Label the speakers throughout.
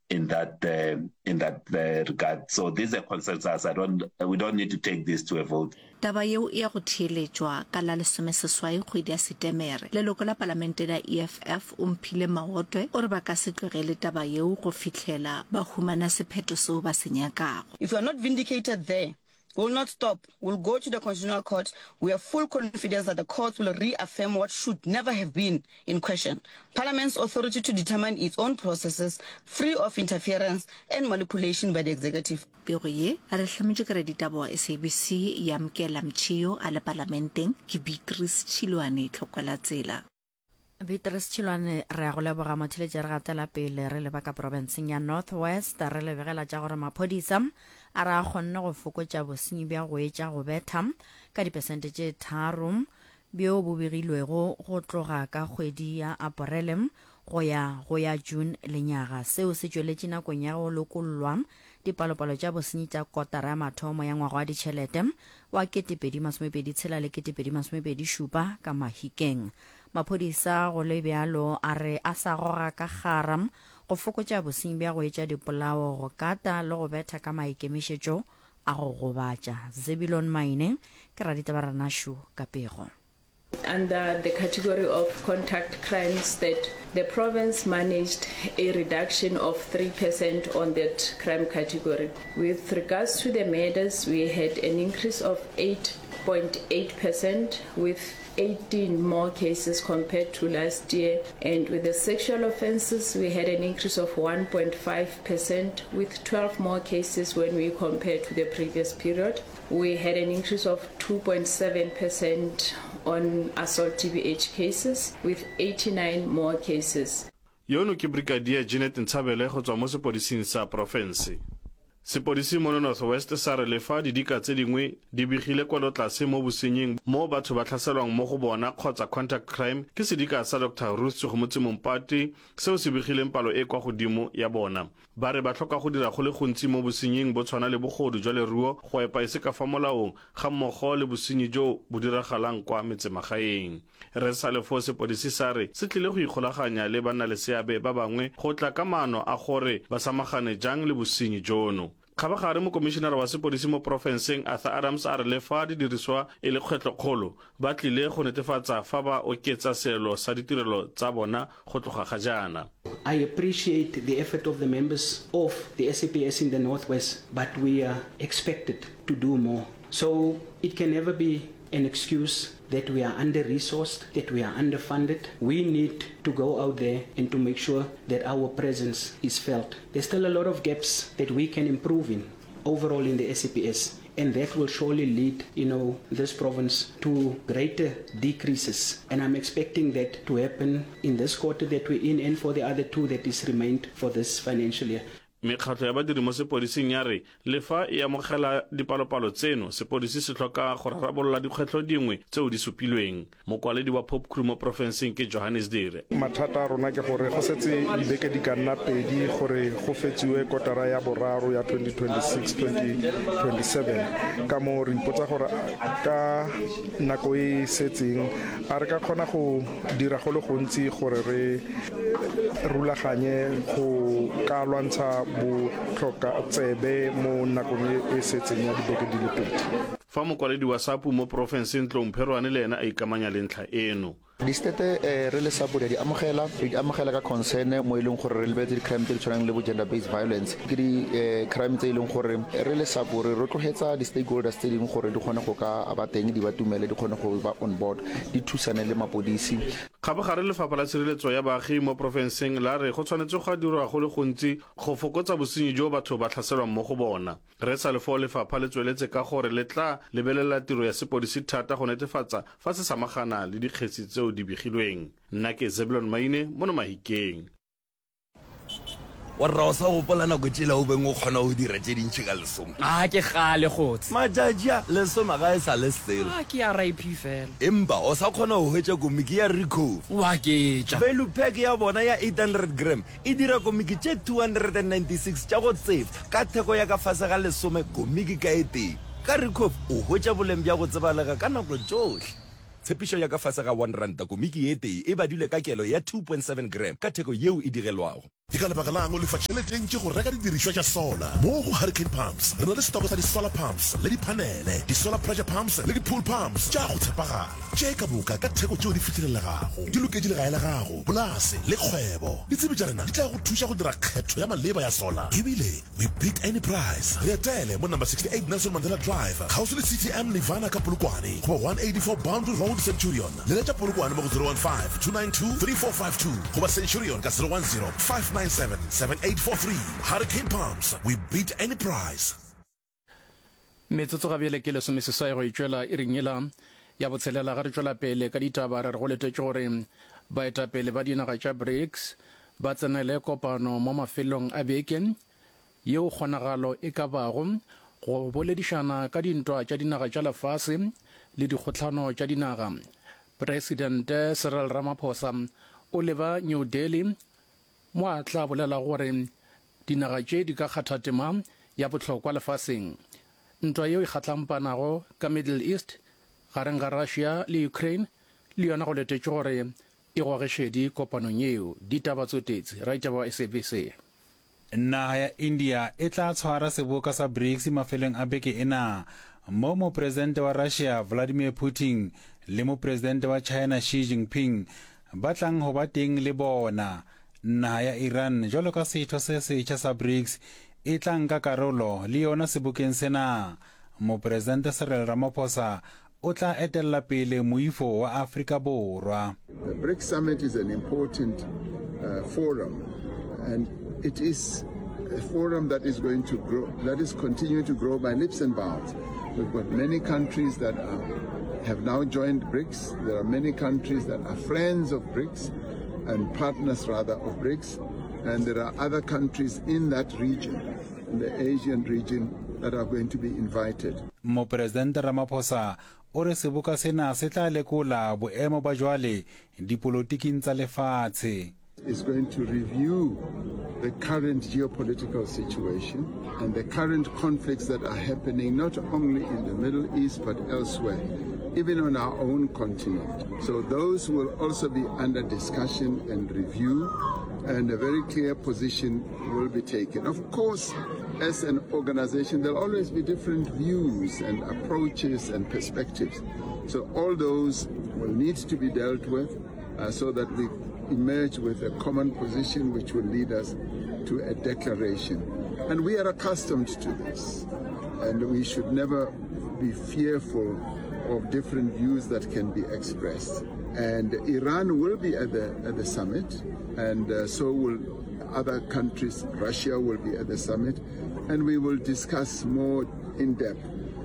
Speaker 1: in that uh, in that uh, regard. So this is a consensus. I don't we don't need to take this to a vote.
Speaker 2: Taba yeo e ya go theeletšwa ka la lesomeseswai kgwedi ya Setemere. Leloko la palamente la EFF, Omphile Maotwe, o re ba ka se tlogele taba yeo go fihlela ba humana sephetho seo ba se nyakago.
Speaker 3: If we are not vindicated there, we will not stop, we will go to the Constitutional Court. We have full confidence that the courts will reaffirm what should never have been in question, Parliament's authority to determine its own processes, free of interference and manipulation by the executive.
Speaker 2: Pego ye re hlametšwe ke raditaba wa SABC Yamkela Mtshio a le Palamenteng ke Beatrice Tšhilwane Tlhokwalatsela.
Speaker 4: Beatrice Tšhilwane, re a go leboga motheletši. Re gatela pele re leba ka profenseng ya North West, re le begela tša gore maphodisa a re a kgonne go fokotša bosenyi bja go etša go betha ka dipesente tše tharo bjo bo begilwego go tloga ka kgwedi ya Aporele go ya go ya June lenyaga. Seo se tšweletše nakong ya go lokollwa dipalopalo tša bosenyi tša kotara ya mathomo ya ngwaga wa ditšhelete wa 2026 le 2027 ka Mahikeng. Maphodisa go le bjalo a re a sa goga ka kgara go fokotša bosenyi bja go etša dipolao, go kata le go betha ka maikemišetšo a go gobatša. Zebilon Maine ke raditaba Ranašu ka pego.
Speaker 5: Under the category of contact crimes that the province managed a reduction of 3% on that crime category. With regards to the murders, we had an increase of 8.8% with 18 more cases compared to last year. And with the sexual offences, we had an increase of 1.5% with 12 more cases when we compare to the previous period. We had an increase of 2.7% on assault TBH cases with 89 more cases.
Speaker 6: Yono ke Brigadier Jeanette Ntshabele go tswa mo sepodising sa profense. Sepodisi mono North West sa re lefa didika tse dingwe di begile kwelotlase mo bosenying mo batho ba tlhaselwang mo go bona kgotsa contact crime ke sedika sa Doctor Ruth Segomotsi Mompati seo se begileng palo e kwa godimo ya bona. Ba re ba hloka go dira go le gontsi mo bosenying bo tshwana le bogodu jwa leruo, go epa e se ka fa molaong, gammogo le bosenyi jo bo diragalang kwa metsemagaeng. Re sa le foo sepodisi sa re se tlile go ikgolaganya le bannaleseabe ba bangwe go tla ka maano a gore ba samagane jang le bosenyi jono. Kgabagare mokomišenara wa sepodisi mo porofenseng Arthur Adams a re le fa didiriswa e le kgwetlhokgolo, ba tlile go netefatsa fa ba oketsa seelo sa ditirelo tsa bona go tloga ga jaana.
Speaker 7: I appreciate the effort of the members of the SAPS in the North West, but we are expected to do more. So it can never be an excuse that we are under-resourced, that we are underfunded. We need to go out there and to make sure that our presence is felt. There's still a lot of gaps that we can improve in overall in the SAPS, and that will surely lead, you know, this province to greater decreases. And I'm expecting that to happen in this quarter that we're in and for the other two that is remained for this financial year.
Speaker 6: Mekgatlo ya badiri mo sepodising ya re le fa e amogela dipalopalo tseno, sepodisi se hloka go rarabolola dikgwetlho dingwe tseo di supilweng. Mokwaledi wa Popcru mo porofenseng ke Johannes Dire.
Speaker 8: Mathata a rona ke gore go setse dibeke di ka nna pedi gore go fetsiwe kotara ya boraro ya 2026-2027. Ka moo re ipotsa gore ka nako e e setseng a re ka kgona go dira go le gontsi gore re rulaganye go ka lwantsha botlhoka tsebe mo nakong e e setseng ya dibeke di le pedi.
Speaker 6: Fa mokwaledi wa SAPU mo porofenseng Tlou Mpherwane le ena a ikamanya le ntlha eno.
Speaker 9: Di-state re le SAPU re a di amogela, re di amogela ka concern mo e leng gore re lebeletse di-crime tse di tshwanang le bo gender based violence. Ke di-crime tse e leng gore re le SAPU re rotloetsa di-stakeholders tse dingwe gore di kgone go ka ba teng, di ba tumele, di kgone go ba on board, di thusane le mapodisi.
Speaker 6: Kgabagare Lefapha la Tshireletso ya Baagi mo porofenseng la re go tshwanetse ga dirwa go le gontsi go fokotsa bosenyi jo batho ba tlhaselwang mo go bona. Re sa le foo lefapha le tsweletse ka gore le tla lebelela tiro ya sepodisi thata go netefatsa fa se samagana le dikgetsi tseo di begilweng. Nna ke Zebulon Maine mono Mahikeng.
Speaker 10: Warra o sa gopola nako tšela o beng o kgona go dira tše dintši ka lesome?
Speaker 11: A ke kgale kgotse.
Speaker 10: Matšatši a, lesome ga e sa le selo.
Speaker 11: A ke RIP fela.
Speaker 10: Empa o sa kgona go hwetša komiki ya Recove.
Speaker 11: O aketša.
Speaker 10: Value pack ya bona ya 800 gram E dira komiki tše 296 tša go tsefa ka theko ya ka fase ga lesome komiki ka e tee. Ka Ricoff o hwetša boleng bja go tsebalega ka nako tšohle. Tshepišo ya ka fase ga R1 komiki e tee e badilwe ka kelo ya 2.7 gram ka theko yeo e digelwago.
Speaker 12: Ke ka lebaka la'ng o lefa tšhelete e ntši go reka didirišwa tša solar? Mo go Hurricane Pumps re na le setoko sa di-solar pumps le diphanele, di-solar pressure pumps le di-pool pumps tša go tshepagala, tše ka moka ka theko tšeo di fihlelelegago. Di loketše legae la gago, polase le kgwebo. Ditsebi tša rena di tla go thuša go dira kgetho ya maleba ya solar ebile We beat any price. Re etele mo number 68 Nelson Mandela Drive, kgauswi le CTM Nirvana ka Polokwane, goba 184 Boundary Road, Centurion. Leletša Polokwane mo go 015 292 3452 goba Centurion ka 010 597 7843. Hurricane Pumps, we beat any price.
Speaker 13: Metsotso ga bjale ke lesomeseswai go e tšwela iring yela ya botshelela ge re tšwela pele ka ditaba re re go letetše gore baetapele ba dinaga tša BRICS ba tsenele kopano mo mafelong a beke yeo kgonagalo e ka bago go boledišana ka dintwa tša dinaga tša lefase le dikgohlano tša dinaga. Presidente Cyril Ramaphosa o leba New Delhi mo a tla bolelago gore dinaga tše di ka kgatha tema ya bohlokwa lefaseng. Ntwa yeo e kgatlampanago ka Middle East gareng ga Russia le Ukraine le yona go letetšwe gore e goge šedi kopanong yeo. Ditaba Tsotetsi, Raitaba wa SABC.
Speaker 14: Naga ya India e tla tshwara seboka sa BRICS mafelong a beke ena, moo Mopresidente wa Russia Vladimir Putin le Mopresidente wa China Xi Jinping ba tlang ho ba teng le bona. Naha ya Iran jwalo ka setho se setjha sa BRICS e tla nka karolo le yona sebokeng sena. Mopresidente Cyril Ramaphosa o tla etella pele moifo wa Afrika Borwa.
Speaker 15: The BRICS summit is an important uh, forum and it is a forum that is going to grow, that is continuing to grow by leaps and bounds. We've got many countries that are, have now joined BRICS. There are many countries that are friends of BRICS and partners rather of BRICS. And there are other countries in that region, in the Asian region, that are going to be invited.
Speaker 14: Mopresidente Ramaphosa o re seboka sena se tla lekola boemo ba jwale dipolotiking tsa lefatshe.
Speaker 15: Is going to review the current geopolitical situation and the current conflicts that are happening not only in the Middle East but elsewhere, even on our own continent. So those will also be under discussion and review, and a very clear position will be taken. Of course, as an organization, there'll always be different views and approaches and perspectives. So all those will need to be dealt with uh, so that we emerge with a common position which will lead us to a declaration. And we are accustomed to this. And we should never be fearful of different views that can be expressed. And Iran will be at the, at the summit, and uh, so will other countries. Russia will be at the summit, and we will discuss more in depth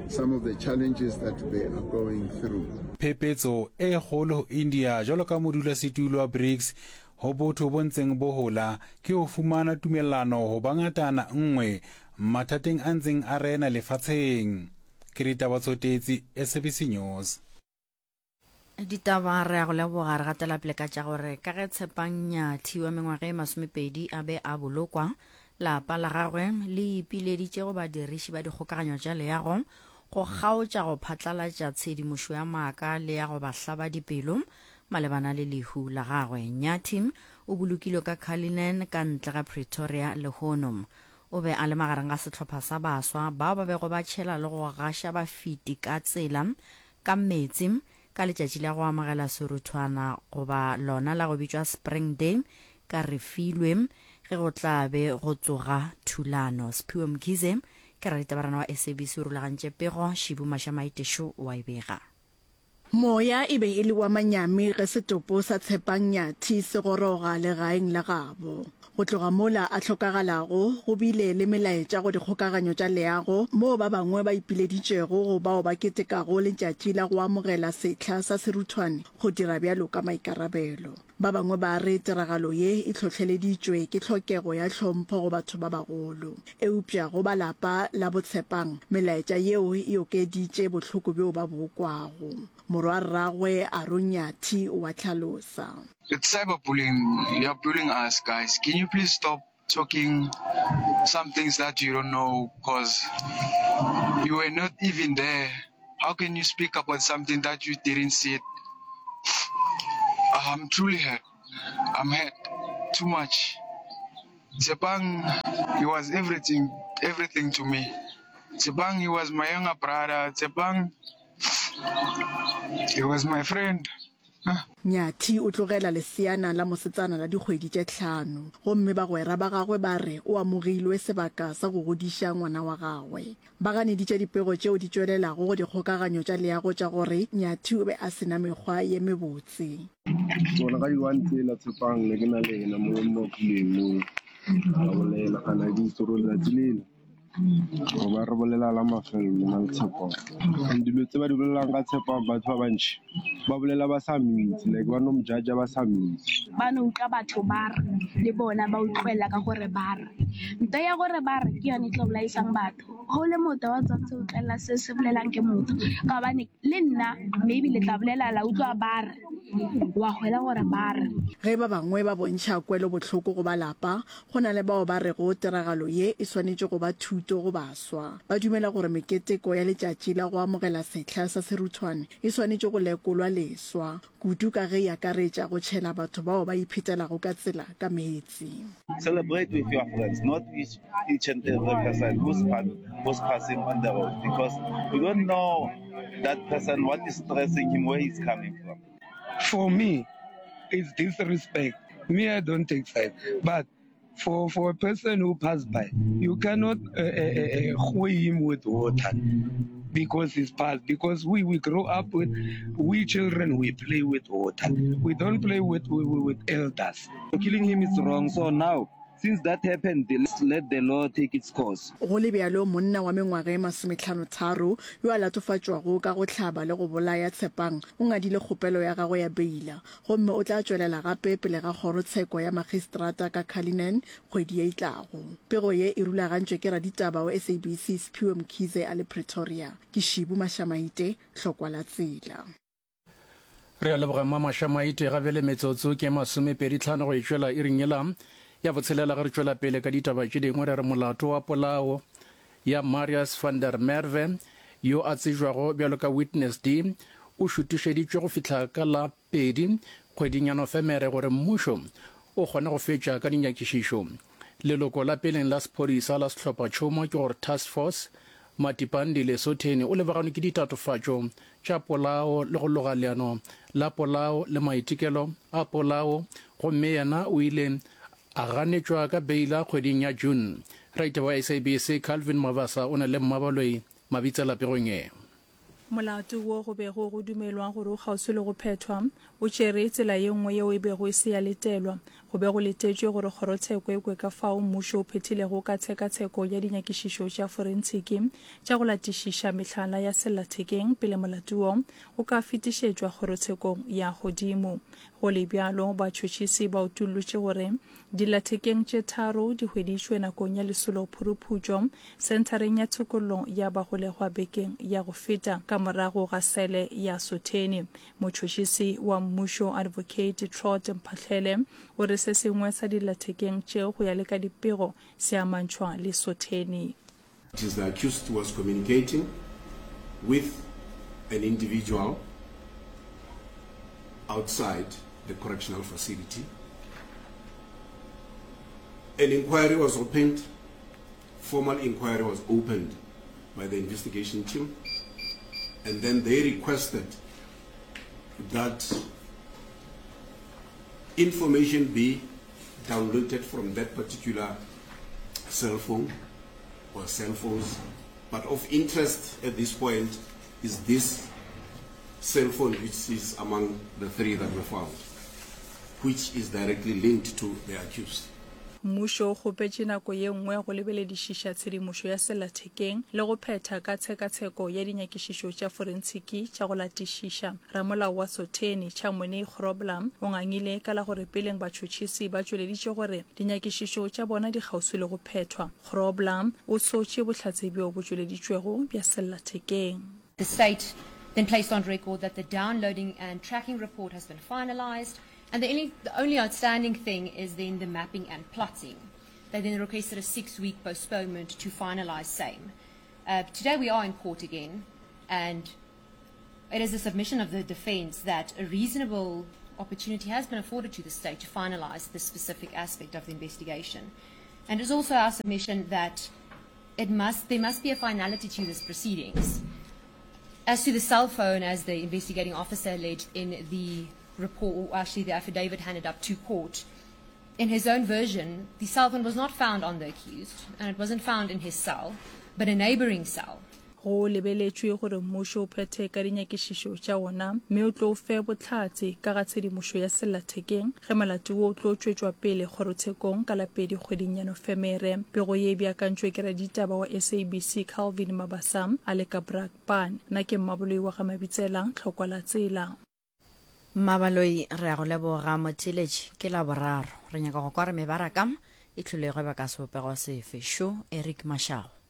Speaker 15: some of the challenges that they are going through.
Speaker 14: Phepetso e kgolo ho India jwalo ka modulasetulo wa BRICS ho botho bo ntseng bo hola ke ho fumana tumellano ho ba ngatana nngwe mathateng a ntseng a rena lefatsheng. Ke Ditaba Tsotetsi, SABC News.
Speaker 4: Ditaba re a go leboga re gatela pele ka tša gore ka ge Tshepang Nyathi wa mengwaga e masomepedi a be a bolokwa, lapa la gagwe le ipileditše go badiriši ba dikgokaganyo tša leago go kgaotša go phatlalatša tshedimošo ya maaka le ya go ba hlaba dipelo malebana le lehu la gagwe. Nyathi o bolokilwe ka Cullinan ka ntle ga Pretoria lehono. O be a le magareng ga sehlopha sa baswa bao ba bego ba tšhela le go gaša bafeti ka tsela ka meetse ka letšatši la go amogela seruthwana goba lona la go bitšwa Spring Day ka Refilwe ge go tla be go tsoga thulano. Sphiwe Mkhize ke raditabarana wa SABC o rulagantše pego, Shibu Mashamaite šo wa e bega.
Speaker 16: Moya e be e le wa manyami ge setopo sa Tshepang Nyathi se goroga legaeng la gabo. Go tloga mola a hlokagalago, go bile le melaetša go dikgokaganyo tša leago moo ba bangwe ba ipileditšego go bao ba ketekago letšatši la go amogela sehla sa seruthwane go dira bjalo ka maikarabelo. Ba bangwe ba re tiragalo ye e hlohleleditšwe ke tlhokego ya hlompho go batho ba bagolo. Eupša go ba lapa la boTshepang, melaetša yeo e okeditše bohloko bjo ba bo kwago. Morwarragwe Aaron Nyathi o a hlalosa.
Speaker 17: It's cyber bullying, you are bullying us guys, can you please stop talking some things that you don't know cause you were not even there, how can you speak about something that you didn't see it, I'm truly hurt, I'm hurt too much. Tshepang, he was everything, everything to me. Tshepang, he was my younger brother. Tshepang, he was my friend.
Speaker 16: Nyathi o tlogela leseana la mosetsana la dikgwedi tše tlhano, gomme bagwera ba gagwe ba re o amogilwe sebaka sa go godiša ngwana wa gagwe. Ba ganeditše dipego tšeo di tšwelelago go dikgokaganyo tša leago tša gore Nyathi o be a se na mekgwa ye mebotse.
Speaker 18: Tsona ka di-one tsela Tshepang ne ke na le yena mo mapuleng mo ra bolela kana ke itse gore letsatsi lela goba re bolela la mafelelo nna le Tshepang. And dilo tse ba di bolelang ka Tshepang batho ba bantši ba bolela ba sa mitse like ba no mo judge ba sa mitse.
Speaker 19: Ba no utlwa batho ba re le bona ba utlwela ka gore ba re. Nto ya gore ba re ke yone e tlo bolaisang batho. Go le motho wa tshwanetse go utlwelela se se bolelang ke motho ka gobane le nna maybe le tla bolela la utlwa ba re wa hwela gore ba re.
Speaker 16: Ge ba bangwe ba bontšha kwelobohloko go ba lapa, Go na le bao ba rego tiragalo ye e swanetše go ba thuto go baswa. Ba dumela gore meketeko ya letšatši la go amogela sehla sa seruthwane e swanetše go lekolwa leswa, kudu ka ge e akaretša go tšhela batho bao ba iphetelago ka tsela ka meetse.
Speaker 1: Celebrate with your friends, not with each and every person who's, who's passing on the road because you don't know that person what is stressing him, where he's coming from.
Speaker 20: For me, it's disrespect. Me, I don't take side. But for, for a person who passed by, you cannot uh, uh, uh, him with water because it's passed. Because we, we grow up with, we children, we play with water. We don't play with, with, with elders.
Speaker 21: Killing him is wrong. So now, Since that happened, let the law take its course.
Speaker 16: Go le bjalo, monna wa mengwaga e masometlhanotharo yo a latofatšwago ka go hlaba le go bolaya Tshepang o ngadile kgopelo ya gagwe ya beila gomme o tla tšwelela gape pele ga kgorotsheko ya magistrata ka Cullinan kgwedi ye e tlago. Pego ye e rulagantšwe ke raditaba wa SABC Siphiwe Mkhize a le Pretoria. Ke Shibu Mashamaite, Hlokwa la Tsela.
Speaker 13: Re a leboga Mma Maite. Ga bjale metsotso ke masomepeditlhano go e tšwela iring yela ya botshelela ge re tšwela pele ka ditaba tše dingwe. Re re molato wa polao ya Marius van der Merwe yo a tsejwago bjalo ka Witness D o šutišeditšwe go fihla ka la pedi kgweding ya Nofemere gore mmušo o kgone go fetša ka dinyakišišo. Leloko la peleng la sephodisa la sehlophatšhomo ke gore Task Force Matipandi Lesotheni o lebaganwe ke ditatofatšo tša polao le go loga leano la polao le maitekelo a polao gomme yena o ile a ganetšwa ka beila kgweding ya June. Raitaba wa SABC Calvin Mabasa o na le Mmabaloi Mabitsela pegong ye.
Speaker 22: Molato wo go bego go dumelwa gore o kgauswi le go phethwa, o tšere tsela ye nngwe yeo e bego e se ya letelwa. Go be go letetšwe gore kgorotsheko e kwe ka fao mmušo o phethilego ka tshekatsheko ya dinyakišišo tša forentshiki tša go latišiša mehlala ya sellathekeng pele molato wo o ka fetišetšwa kgorotshekong ya godimo. Go le bjalo, batšhotšhisi ba utollotše gore Dillathekeng tše tharo di hweditšwe nakong ya lesolo phuruphutšo senthareng ya tshokollo ya bagolegwa bekeng ya go feta ka morago ga sele ya Sotheni. Motšhotšhisi wa mmušo Advocate Trot Mphahlele o re se sengwe sa dillathekeng tšeo go ya le ka dipego se amantšhwa le Sotheni.
Speaker 23: It is the accused was communicating with an individual outside the correctional facility. An inquiry was opened, formal inquiry was opened by the investigation team, and then they requested that information be downloaded from that particular cell phone or cell phones. But of interest at this point is this cell phone, which is among the three that were found, which is directly linked to the accused.
Speaker 22: Mmušo o kgopetše nako ye nngwe go lebeledišiša tshedimošo ya sellathekeng le go phetha ka tshekatsheko ya dinyakišišo tša forentshiki tša go latišiša. Ramolao wa Sotheni, Chamonix Grobler, o ngangile ka la gore peleng batšhotšhisi ba tšweleditše gore dinyakišišo tša bona di kgauswi le go phethwa. Grobler o sotše bohlatse bjo bo tšweleditšwego bja sellathekeng.
Speaker 24: The state then placed on record that the downloading and tracking report has been finalised And the only, the only outstanding thing is then the mapping and plotting. They then requested a six-week postponement to finalize same. Uh, today we are in court again, and it is a submission of the defense that a reasonable opportunity has been afforded to the state to finalize this specific aspect of the investigation. And it is also our submission that it must, there must be a finality to this proceedings. As to the cell phone, as the investigating officer alleged in the report, or actually the affidavit handed up to court, in his own version, the cell phone was not found on the accused, and it wasn't found in his cell, but a neighboring cell.
Speaker 22: Go lebeletšwe gore mmušo o phethe ka dinyakišišo tša wona mme o tlo fe bohlatse ka ga tshedimošo ya sellathekeng ge molato wo o tlo tšwetšwa pele kgorotshekong ka la pedi kgweding ya Nofemere. Pego ye e beakantšwe ke raditaba wa SABC Calvin Mabasa a le ka Brakpan. Nna ke Mmaboloi wa ga Mabitsela, Tlhokwa la Tsela.
Speaker 4: Mmabaloi, re a go leboga motheeletši. Ke Laboraro. Re nyaka go kwa gore mebaraka e hlwile e gweba ka sebopego sefe. Šo Eric Mashau.